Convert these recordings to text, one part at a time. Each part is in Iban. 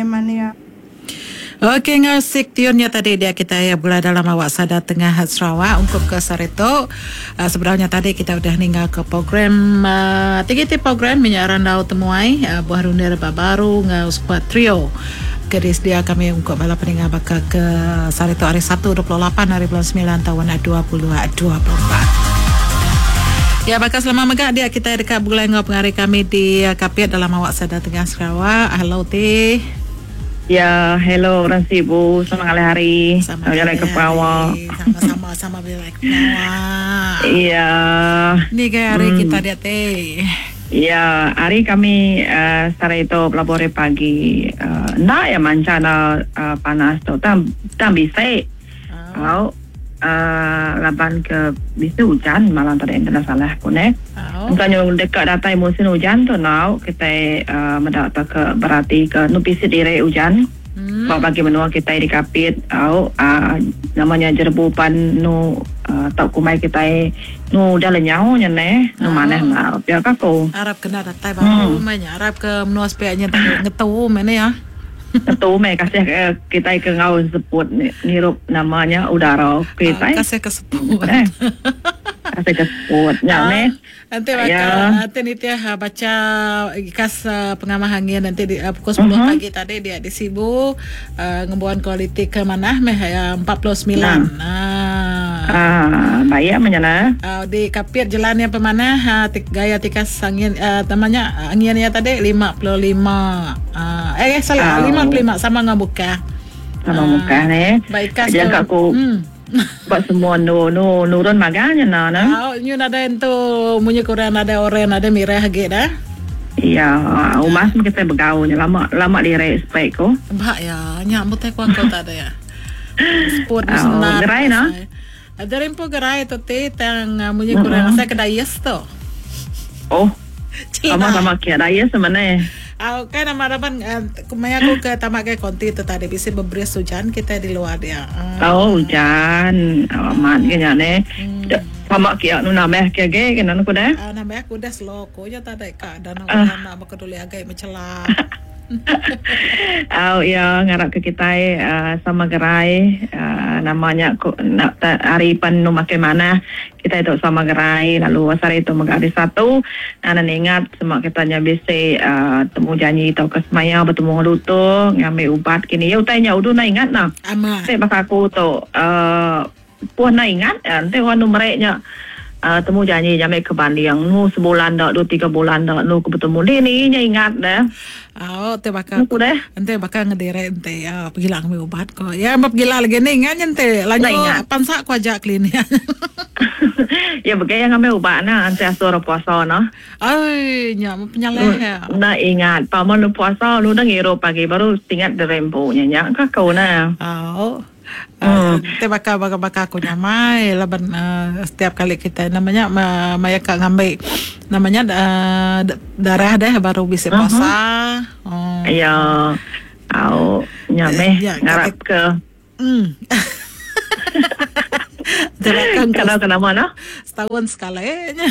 Mania. Ok enggau sik tiun nya tadi dia kitai begulai dalam awak sada tengah Sarawak ungkup ke sehari tu. Sebedau nya tadi kita udah ninggal ke program ti ti program nya randau temuai buah rundir ba baru enggau skuad trio ke disedia kami ungkup bala peninga baka ke sehari tu hari Sabtu 28 hari bulan semilan taun 2024. Ya baka selama mega dia kitai deka begulai enggau pengari kami di Kapit dalam awak sada tengah Sarawak. Hello ti. Ya, hello orang Sibu. Selamat ngalih hari. Sama jalai ke Sarawak. Sama-sama sama berjalai ke Sarawak. Ya. Ni gaya hari kita dia ti. Ya, hari kami sehari tu belabuh hari pagi. Enda ya mancha da panas tu tang tang bisi. Au laban ke bisi ujan malam tadi enda salah ku neh. Engka nyu deka datai musin ujan tu enggau kitai meda tauka berati ke enu bisi diri ujan ba bagi menua kitai di Kapit au nama nya jerebu pan enu tau kumbai kitai enu udah lenyau nya neh enu manah enggau pia ka ku. Arap kena datai baru meh nya arap ke menua sepiak nya ngetu meh nih ah. Tentu meh kasih ke kitai ke enggau seput ngirup nama nya udara kitai. Kasih ke seput. Eh. Kasih ke seput nya meh. Enti baka enti nitih bacha ikas pengamah angin enti pukul sepuluh pagi tadi dia di Sibu ngembuan kualiti ke manah meh 49. Aaa baik meh nya nah. Di Kapit jelan iya pemanah gaya tikas angin nama nya angin iya tadi 55. Eh salah 55 sama enggau Mukah. Sama Mukah neh. Ba ikas tu. Jangka ku ba semua endur nu nurun magang nya nah ne. Au nyu nadai entu munyi ku orang nadai oren nadai mirah agi dah. Iya umas meh kitai begau nya lama lama diri spek ku. Ba iya nya mutai ku aku tadi. Seput Au senang. gerai nah. Dari empu gerai tu ti tang munyi kurang asai ke dayes tu. Oh. Sama sama kia dayes sama ne. Au kai nama raban maya aku ke tama gai konti tu tadi bisi beberis ujan kitai di luar dia. Oh ujan. Amat ke nya ne. Tama kia nu nambah ke agi ke nan ku deh. Au nambah ku deh slow ku nya tadi ka dan ujan enda bekeduli agi mechelap. Au iya ngarap ke kitai sama gerai nama nya ku hari pen enu makin manah kitai tu sama gerai lalu sehari tu mega hari satu nan ingat sema kita nya bisi temu janji tauka semaya betemu enggau lutur ngambi ubat kini iya utai nya udu enda ingat nah. Ti baka aku tu Puh enda ingat enti orang anu meri nya temu janji nya meh ke banding nu sebulan da dua tiga bulan da nu ke betemu dini nya ingat deh. Au ti baka ku deh. Enti baka ngediri enti pegila ngambi ubat ko. Ya ba pegila lagi ni ingat nya enti lanjut pansa ku aja klinik. Ya begai iya ngambi ubat ne enti asuh orang puasa ne. Ai nya meh penyalah iya. Enda ingat pama nu puasa nu udah ngirup pagi baru tingat diri empu nya nya ka ku ne. Au. Enti baka baka aku nyamai laban setiap kali kitai nama nya maya ka ngambi nama nya darah deh baru bisi puasa. Iya au nya meh ngarap ke. Kalau ke nama noh. Setaun sekali nya.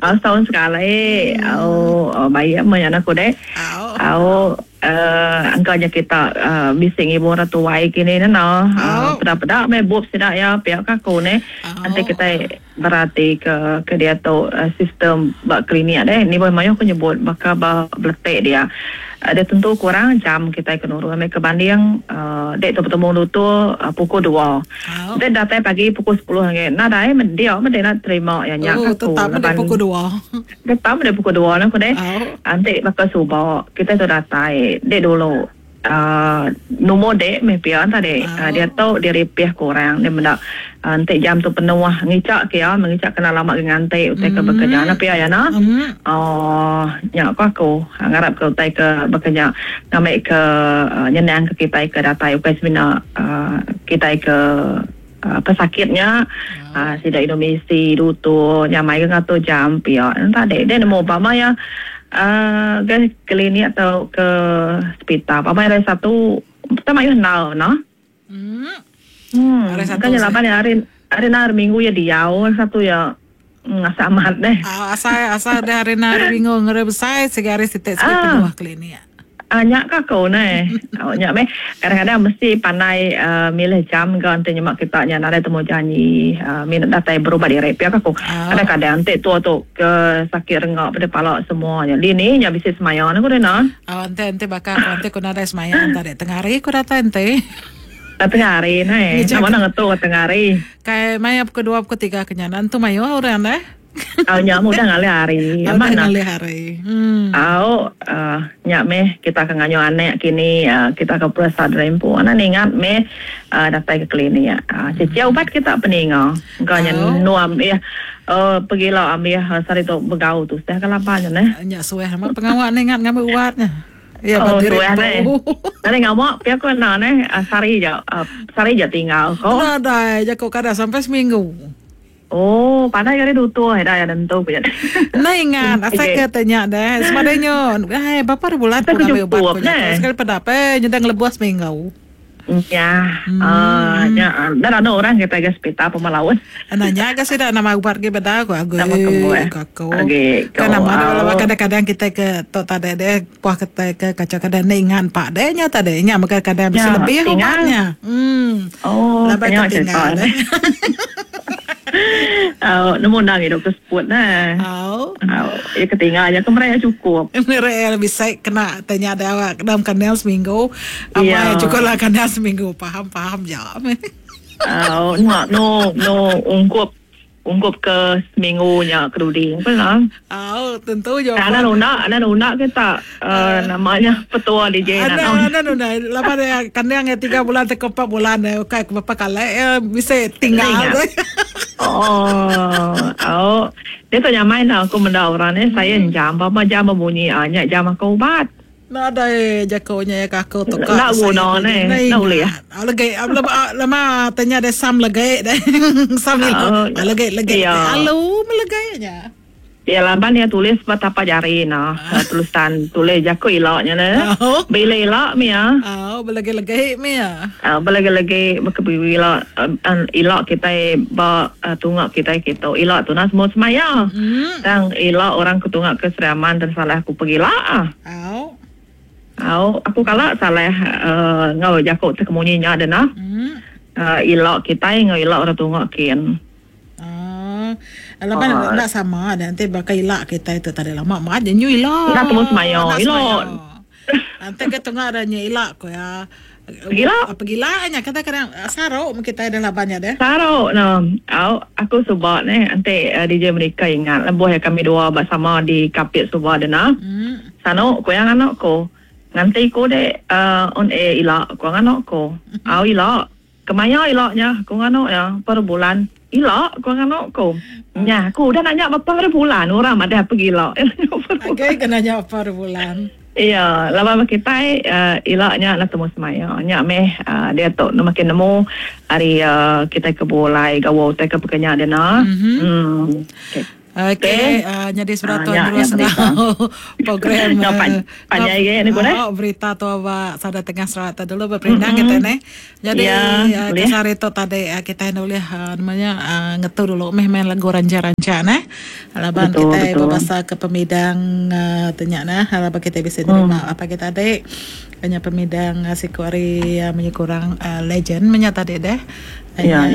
Au setaun sekali au baik meh nya aku deh. Au engka nya kita bisi ngibun orang tuai kini ne noh. Peda peda meh bup sida iya pia ka aku neh. Enti kitai berati ke ke diatu sistem ba klinik deh ni mayuh ku nyebut baka ba beletik dia. Dia tentu kurang jam kitai ke nurun ambi ke banding dek tu betemu lutur pukul dua. Dek datai pagi pukul sepuluh agi nadai meh dia meh dek nak terima iya nya ka ku laban tetap meh pukul dua. Tetap meh pukul dua nah ku deh. Enti baka suba kitai tu datai dek dulu. Numur dek meh pia tadi. Diatu diripih ke orang deh meda enti jam tu penuh ngicha ke iya ngicha ke enda lama ke nganti utai ke bekerja nya pia iya nah. Ooh nya ko aku ngarap ke utai ke baka nya ngambi ke nyenang ke kitai ke datai ukai semina kitai ke pesakit nya sida indu misi lutur nyamai ke ngatur jam pia tadi deh nemu pama iya. Ke klinik tau ke sepital pama hari satu peta mayuh endar noh. Hmm. Hari satu. Bukan laban hari hari hari minggu iya diau hari satu iya ngasa amat deh. Ah, asai asai deh hari hari minggu ngeri besai sigi hari siti sigi penuh klinik. Nya ka aku neh. Nya meh kadang-kadang mesti pandai milih jam ga enti nyema kita nya nadai temu janji mina datai berubat diri pia ka aku. Kadang-kadang enti tua tu ke sakit renga peda pala semua nya dini nya bisi semaya ne ku deh nah. Enti enti baka aku enti ku nadai semaya enta tengah hari ku datai enti. Tengah hari neh. Nama enda ngetu tengah hari. Kai maya pukul dua pukul tiga ke nya nentu mayuh orang deh. Au nya meh udah ngalih hari. Udah ngalih hari. Hmm. Au uh, nya meh kita ke nganyuh anak kini uh, kita ke peresa diri empu. Anak ningat meh uh, datai ke klinik. Uh, Cici ubat kita peninga. Engka nya nuam eh uh, pegila ambil uh, sehari tu begau tu sudah ke laban nya neh. Nya suah amat pengawa ningat ngambil ubat nya. Ya, oh, suah neh. Nari ngawa pia ko enda neh sehari ja sehari ja tinggal ko. Nadai jaku kada sampai seminggu. Oh, pandai gari dutur ida ya nentu ku nya. Enda ingat asai ke te nya deh. Semadai nyo, ai berapa hari bulan ku ngambil ubat ku nya. Sekali peda pe nyeda ngelebuh seminggu. Nya, uh, nya dah anu orang kita ke hospital pemalaun. Nanya ke sida nama ubat ke beda ku aku. Nama ku. Kan nama dah kadang-kadang kita ke tok tadi deh puah kita ke kaca kadang enda ingat pak deh nya tadi nya mega kadang bisi lebih ubatnya. Hmm. Oh, Laban ke tinggal deh. Oh, nemu ndang idup ke seput neh. Oh. Oh, ya ketinggal nya ke meraya cukup. Meraya bisa kena tanya ada awak dalam kandang seminggu. Amai cukup lah kandang seminggu. Faham faham je. Oh, no no no ungkup Ungkup ke seminggu nya ke dudi apa lah. Au tentu jawapan. Ana nunda, ana nunda ke tak uh, nama nya petua DJ nak. Ana ana nunda laban dia kandang ya 3 bulan atau 4 bulan eh ukai ke berapa kali eh bisa tinggal. Oh, au. Dia tu nyamai dah aku menda orang ni saya jam berapa jam berbunyi ah nya jam aku ubat. Nadai jaku nya ya ka aku tu ka. Enda guna neh. Enda ulih. Legi lama tanya deh sam legi deh. Sam ilo. Legi legi. Alu melegai nya. Ya laban iya tulis ba tapak jari nah. Tulisan tulis jaku ila nya neh. Bila ila mih ya. Au belegi-legi mih ya. Belegi-legi baka ila ila kitai ba tunga kitai kitu. Ila tu nah semua semaya. Tang ila orang ke tunga ke Sri Aman tersalah aku pegila. Au. Au, aku kala salah uh, enggau jaku ti kemunyi nya deh nah. Hmm. Ila kitai enggau ila orang tunga kin. Ah. Laban uh, enda sama dah nanti baka ila kitai tu tadi lama mat je nyu ila. Enda temu semaya ila. Nanti ke tunga dah nyu ila ko ya. Pegila. Pegila nya kata kadang saruk meh kitai dah laban nya deh. Saruk no. Au aku suba neh enti DJ Merika ingat lebuh iya kami dua ba sama di Kapit suba deh nah. Sanu ku iya nganu ku. Nganti ku deh on air ila ku nganu ku. Au ila. Kemaya ila nya ku nganu iya per bulan ila ku nganu ku. Nya aku udah nanya berapa hari bulan orang madah pegila. Agei ke nanya berapa hari bulan. Iya, laban ba kitai ila nya enda temu semaya. Nya meh diatu ne makin nemu ari kitai ke begulai gawa utai ke pekenya dina. Emm. Okey. Okey, nyadi sebedau tu terus enggau program panjai agi ni ku deh. Berita tu ba Sada Tengah Sarawak tu dulu beperindang kitai neh. Nyadi kisah hari tu tadi kitai enda ulih nama nya ngetu dulu meh main lagu rancha-rancha neh. Laban kitai bebasa ke pemidang tu nya neh laban kitai bisi nerima pagi tadi nya pemidang siku ari munyi ku orang legend meh nya tadi deh. Nya.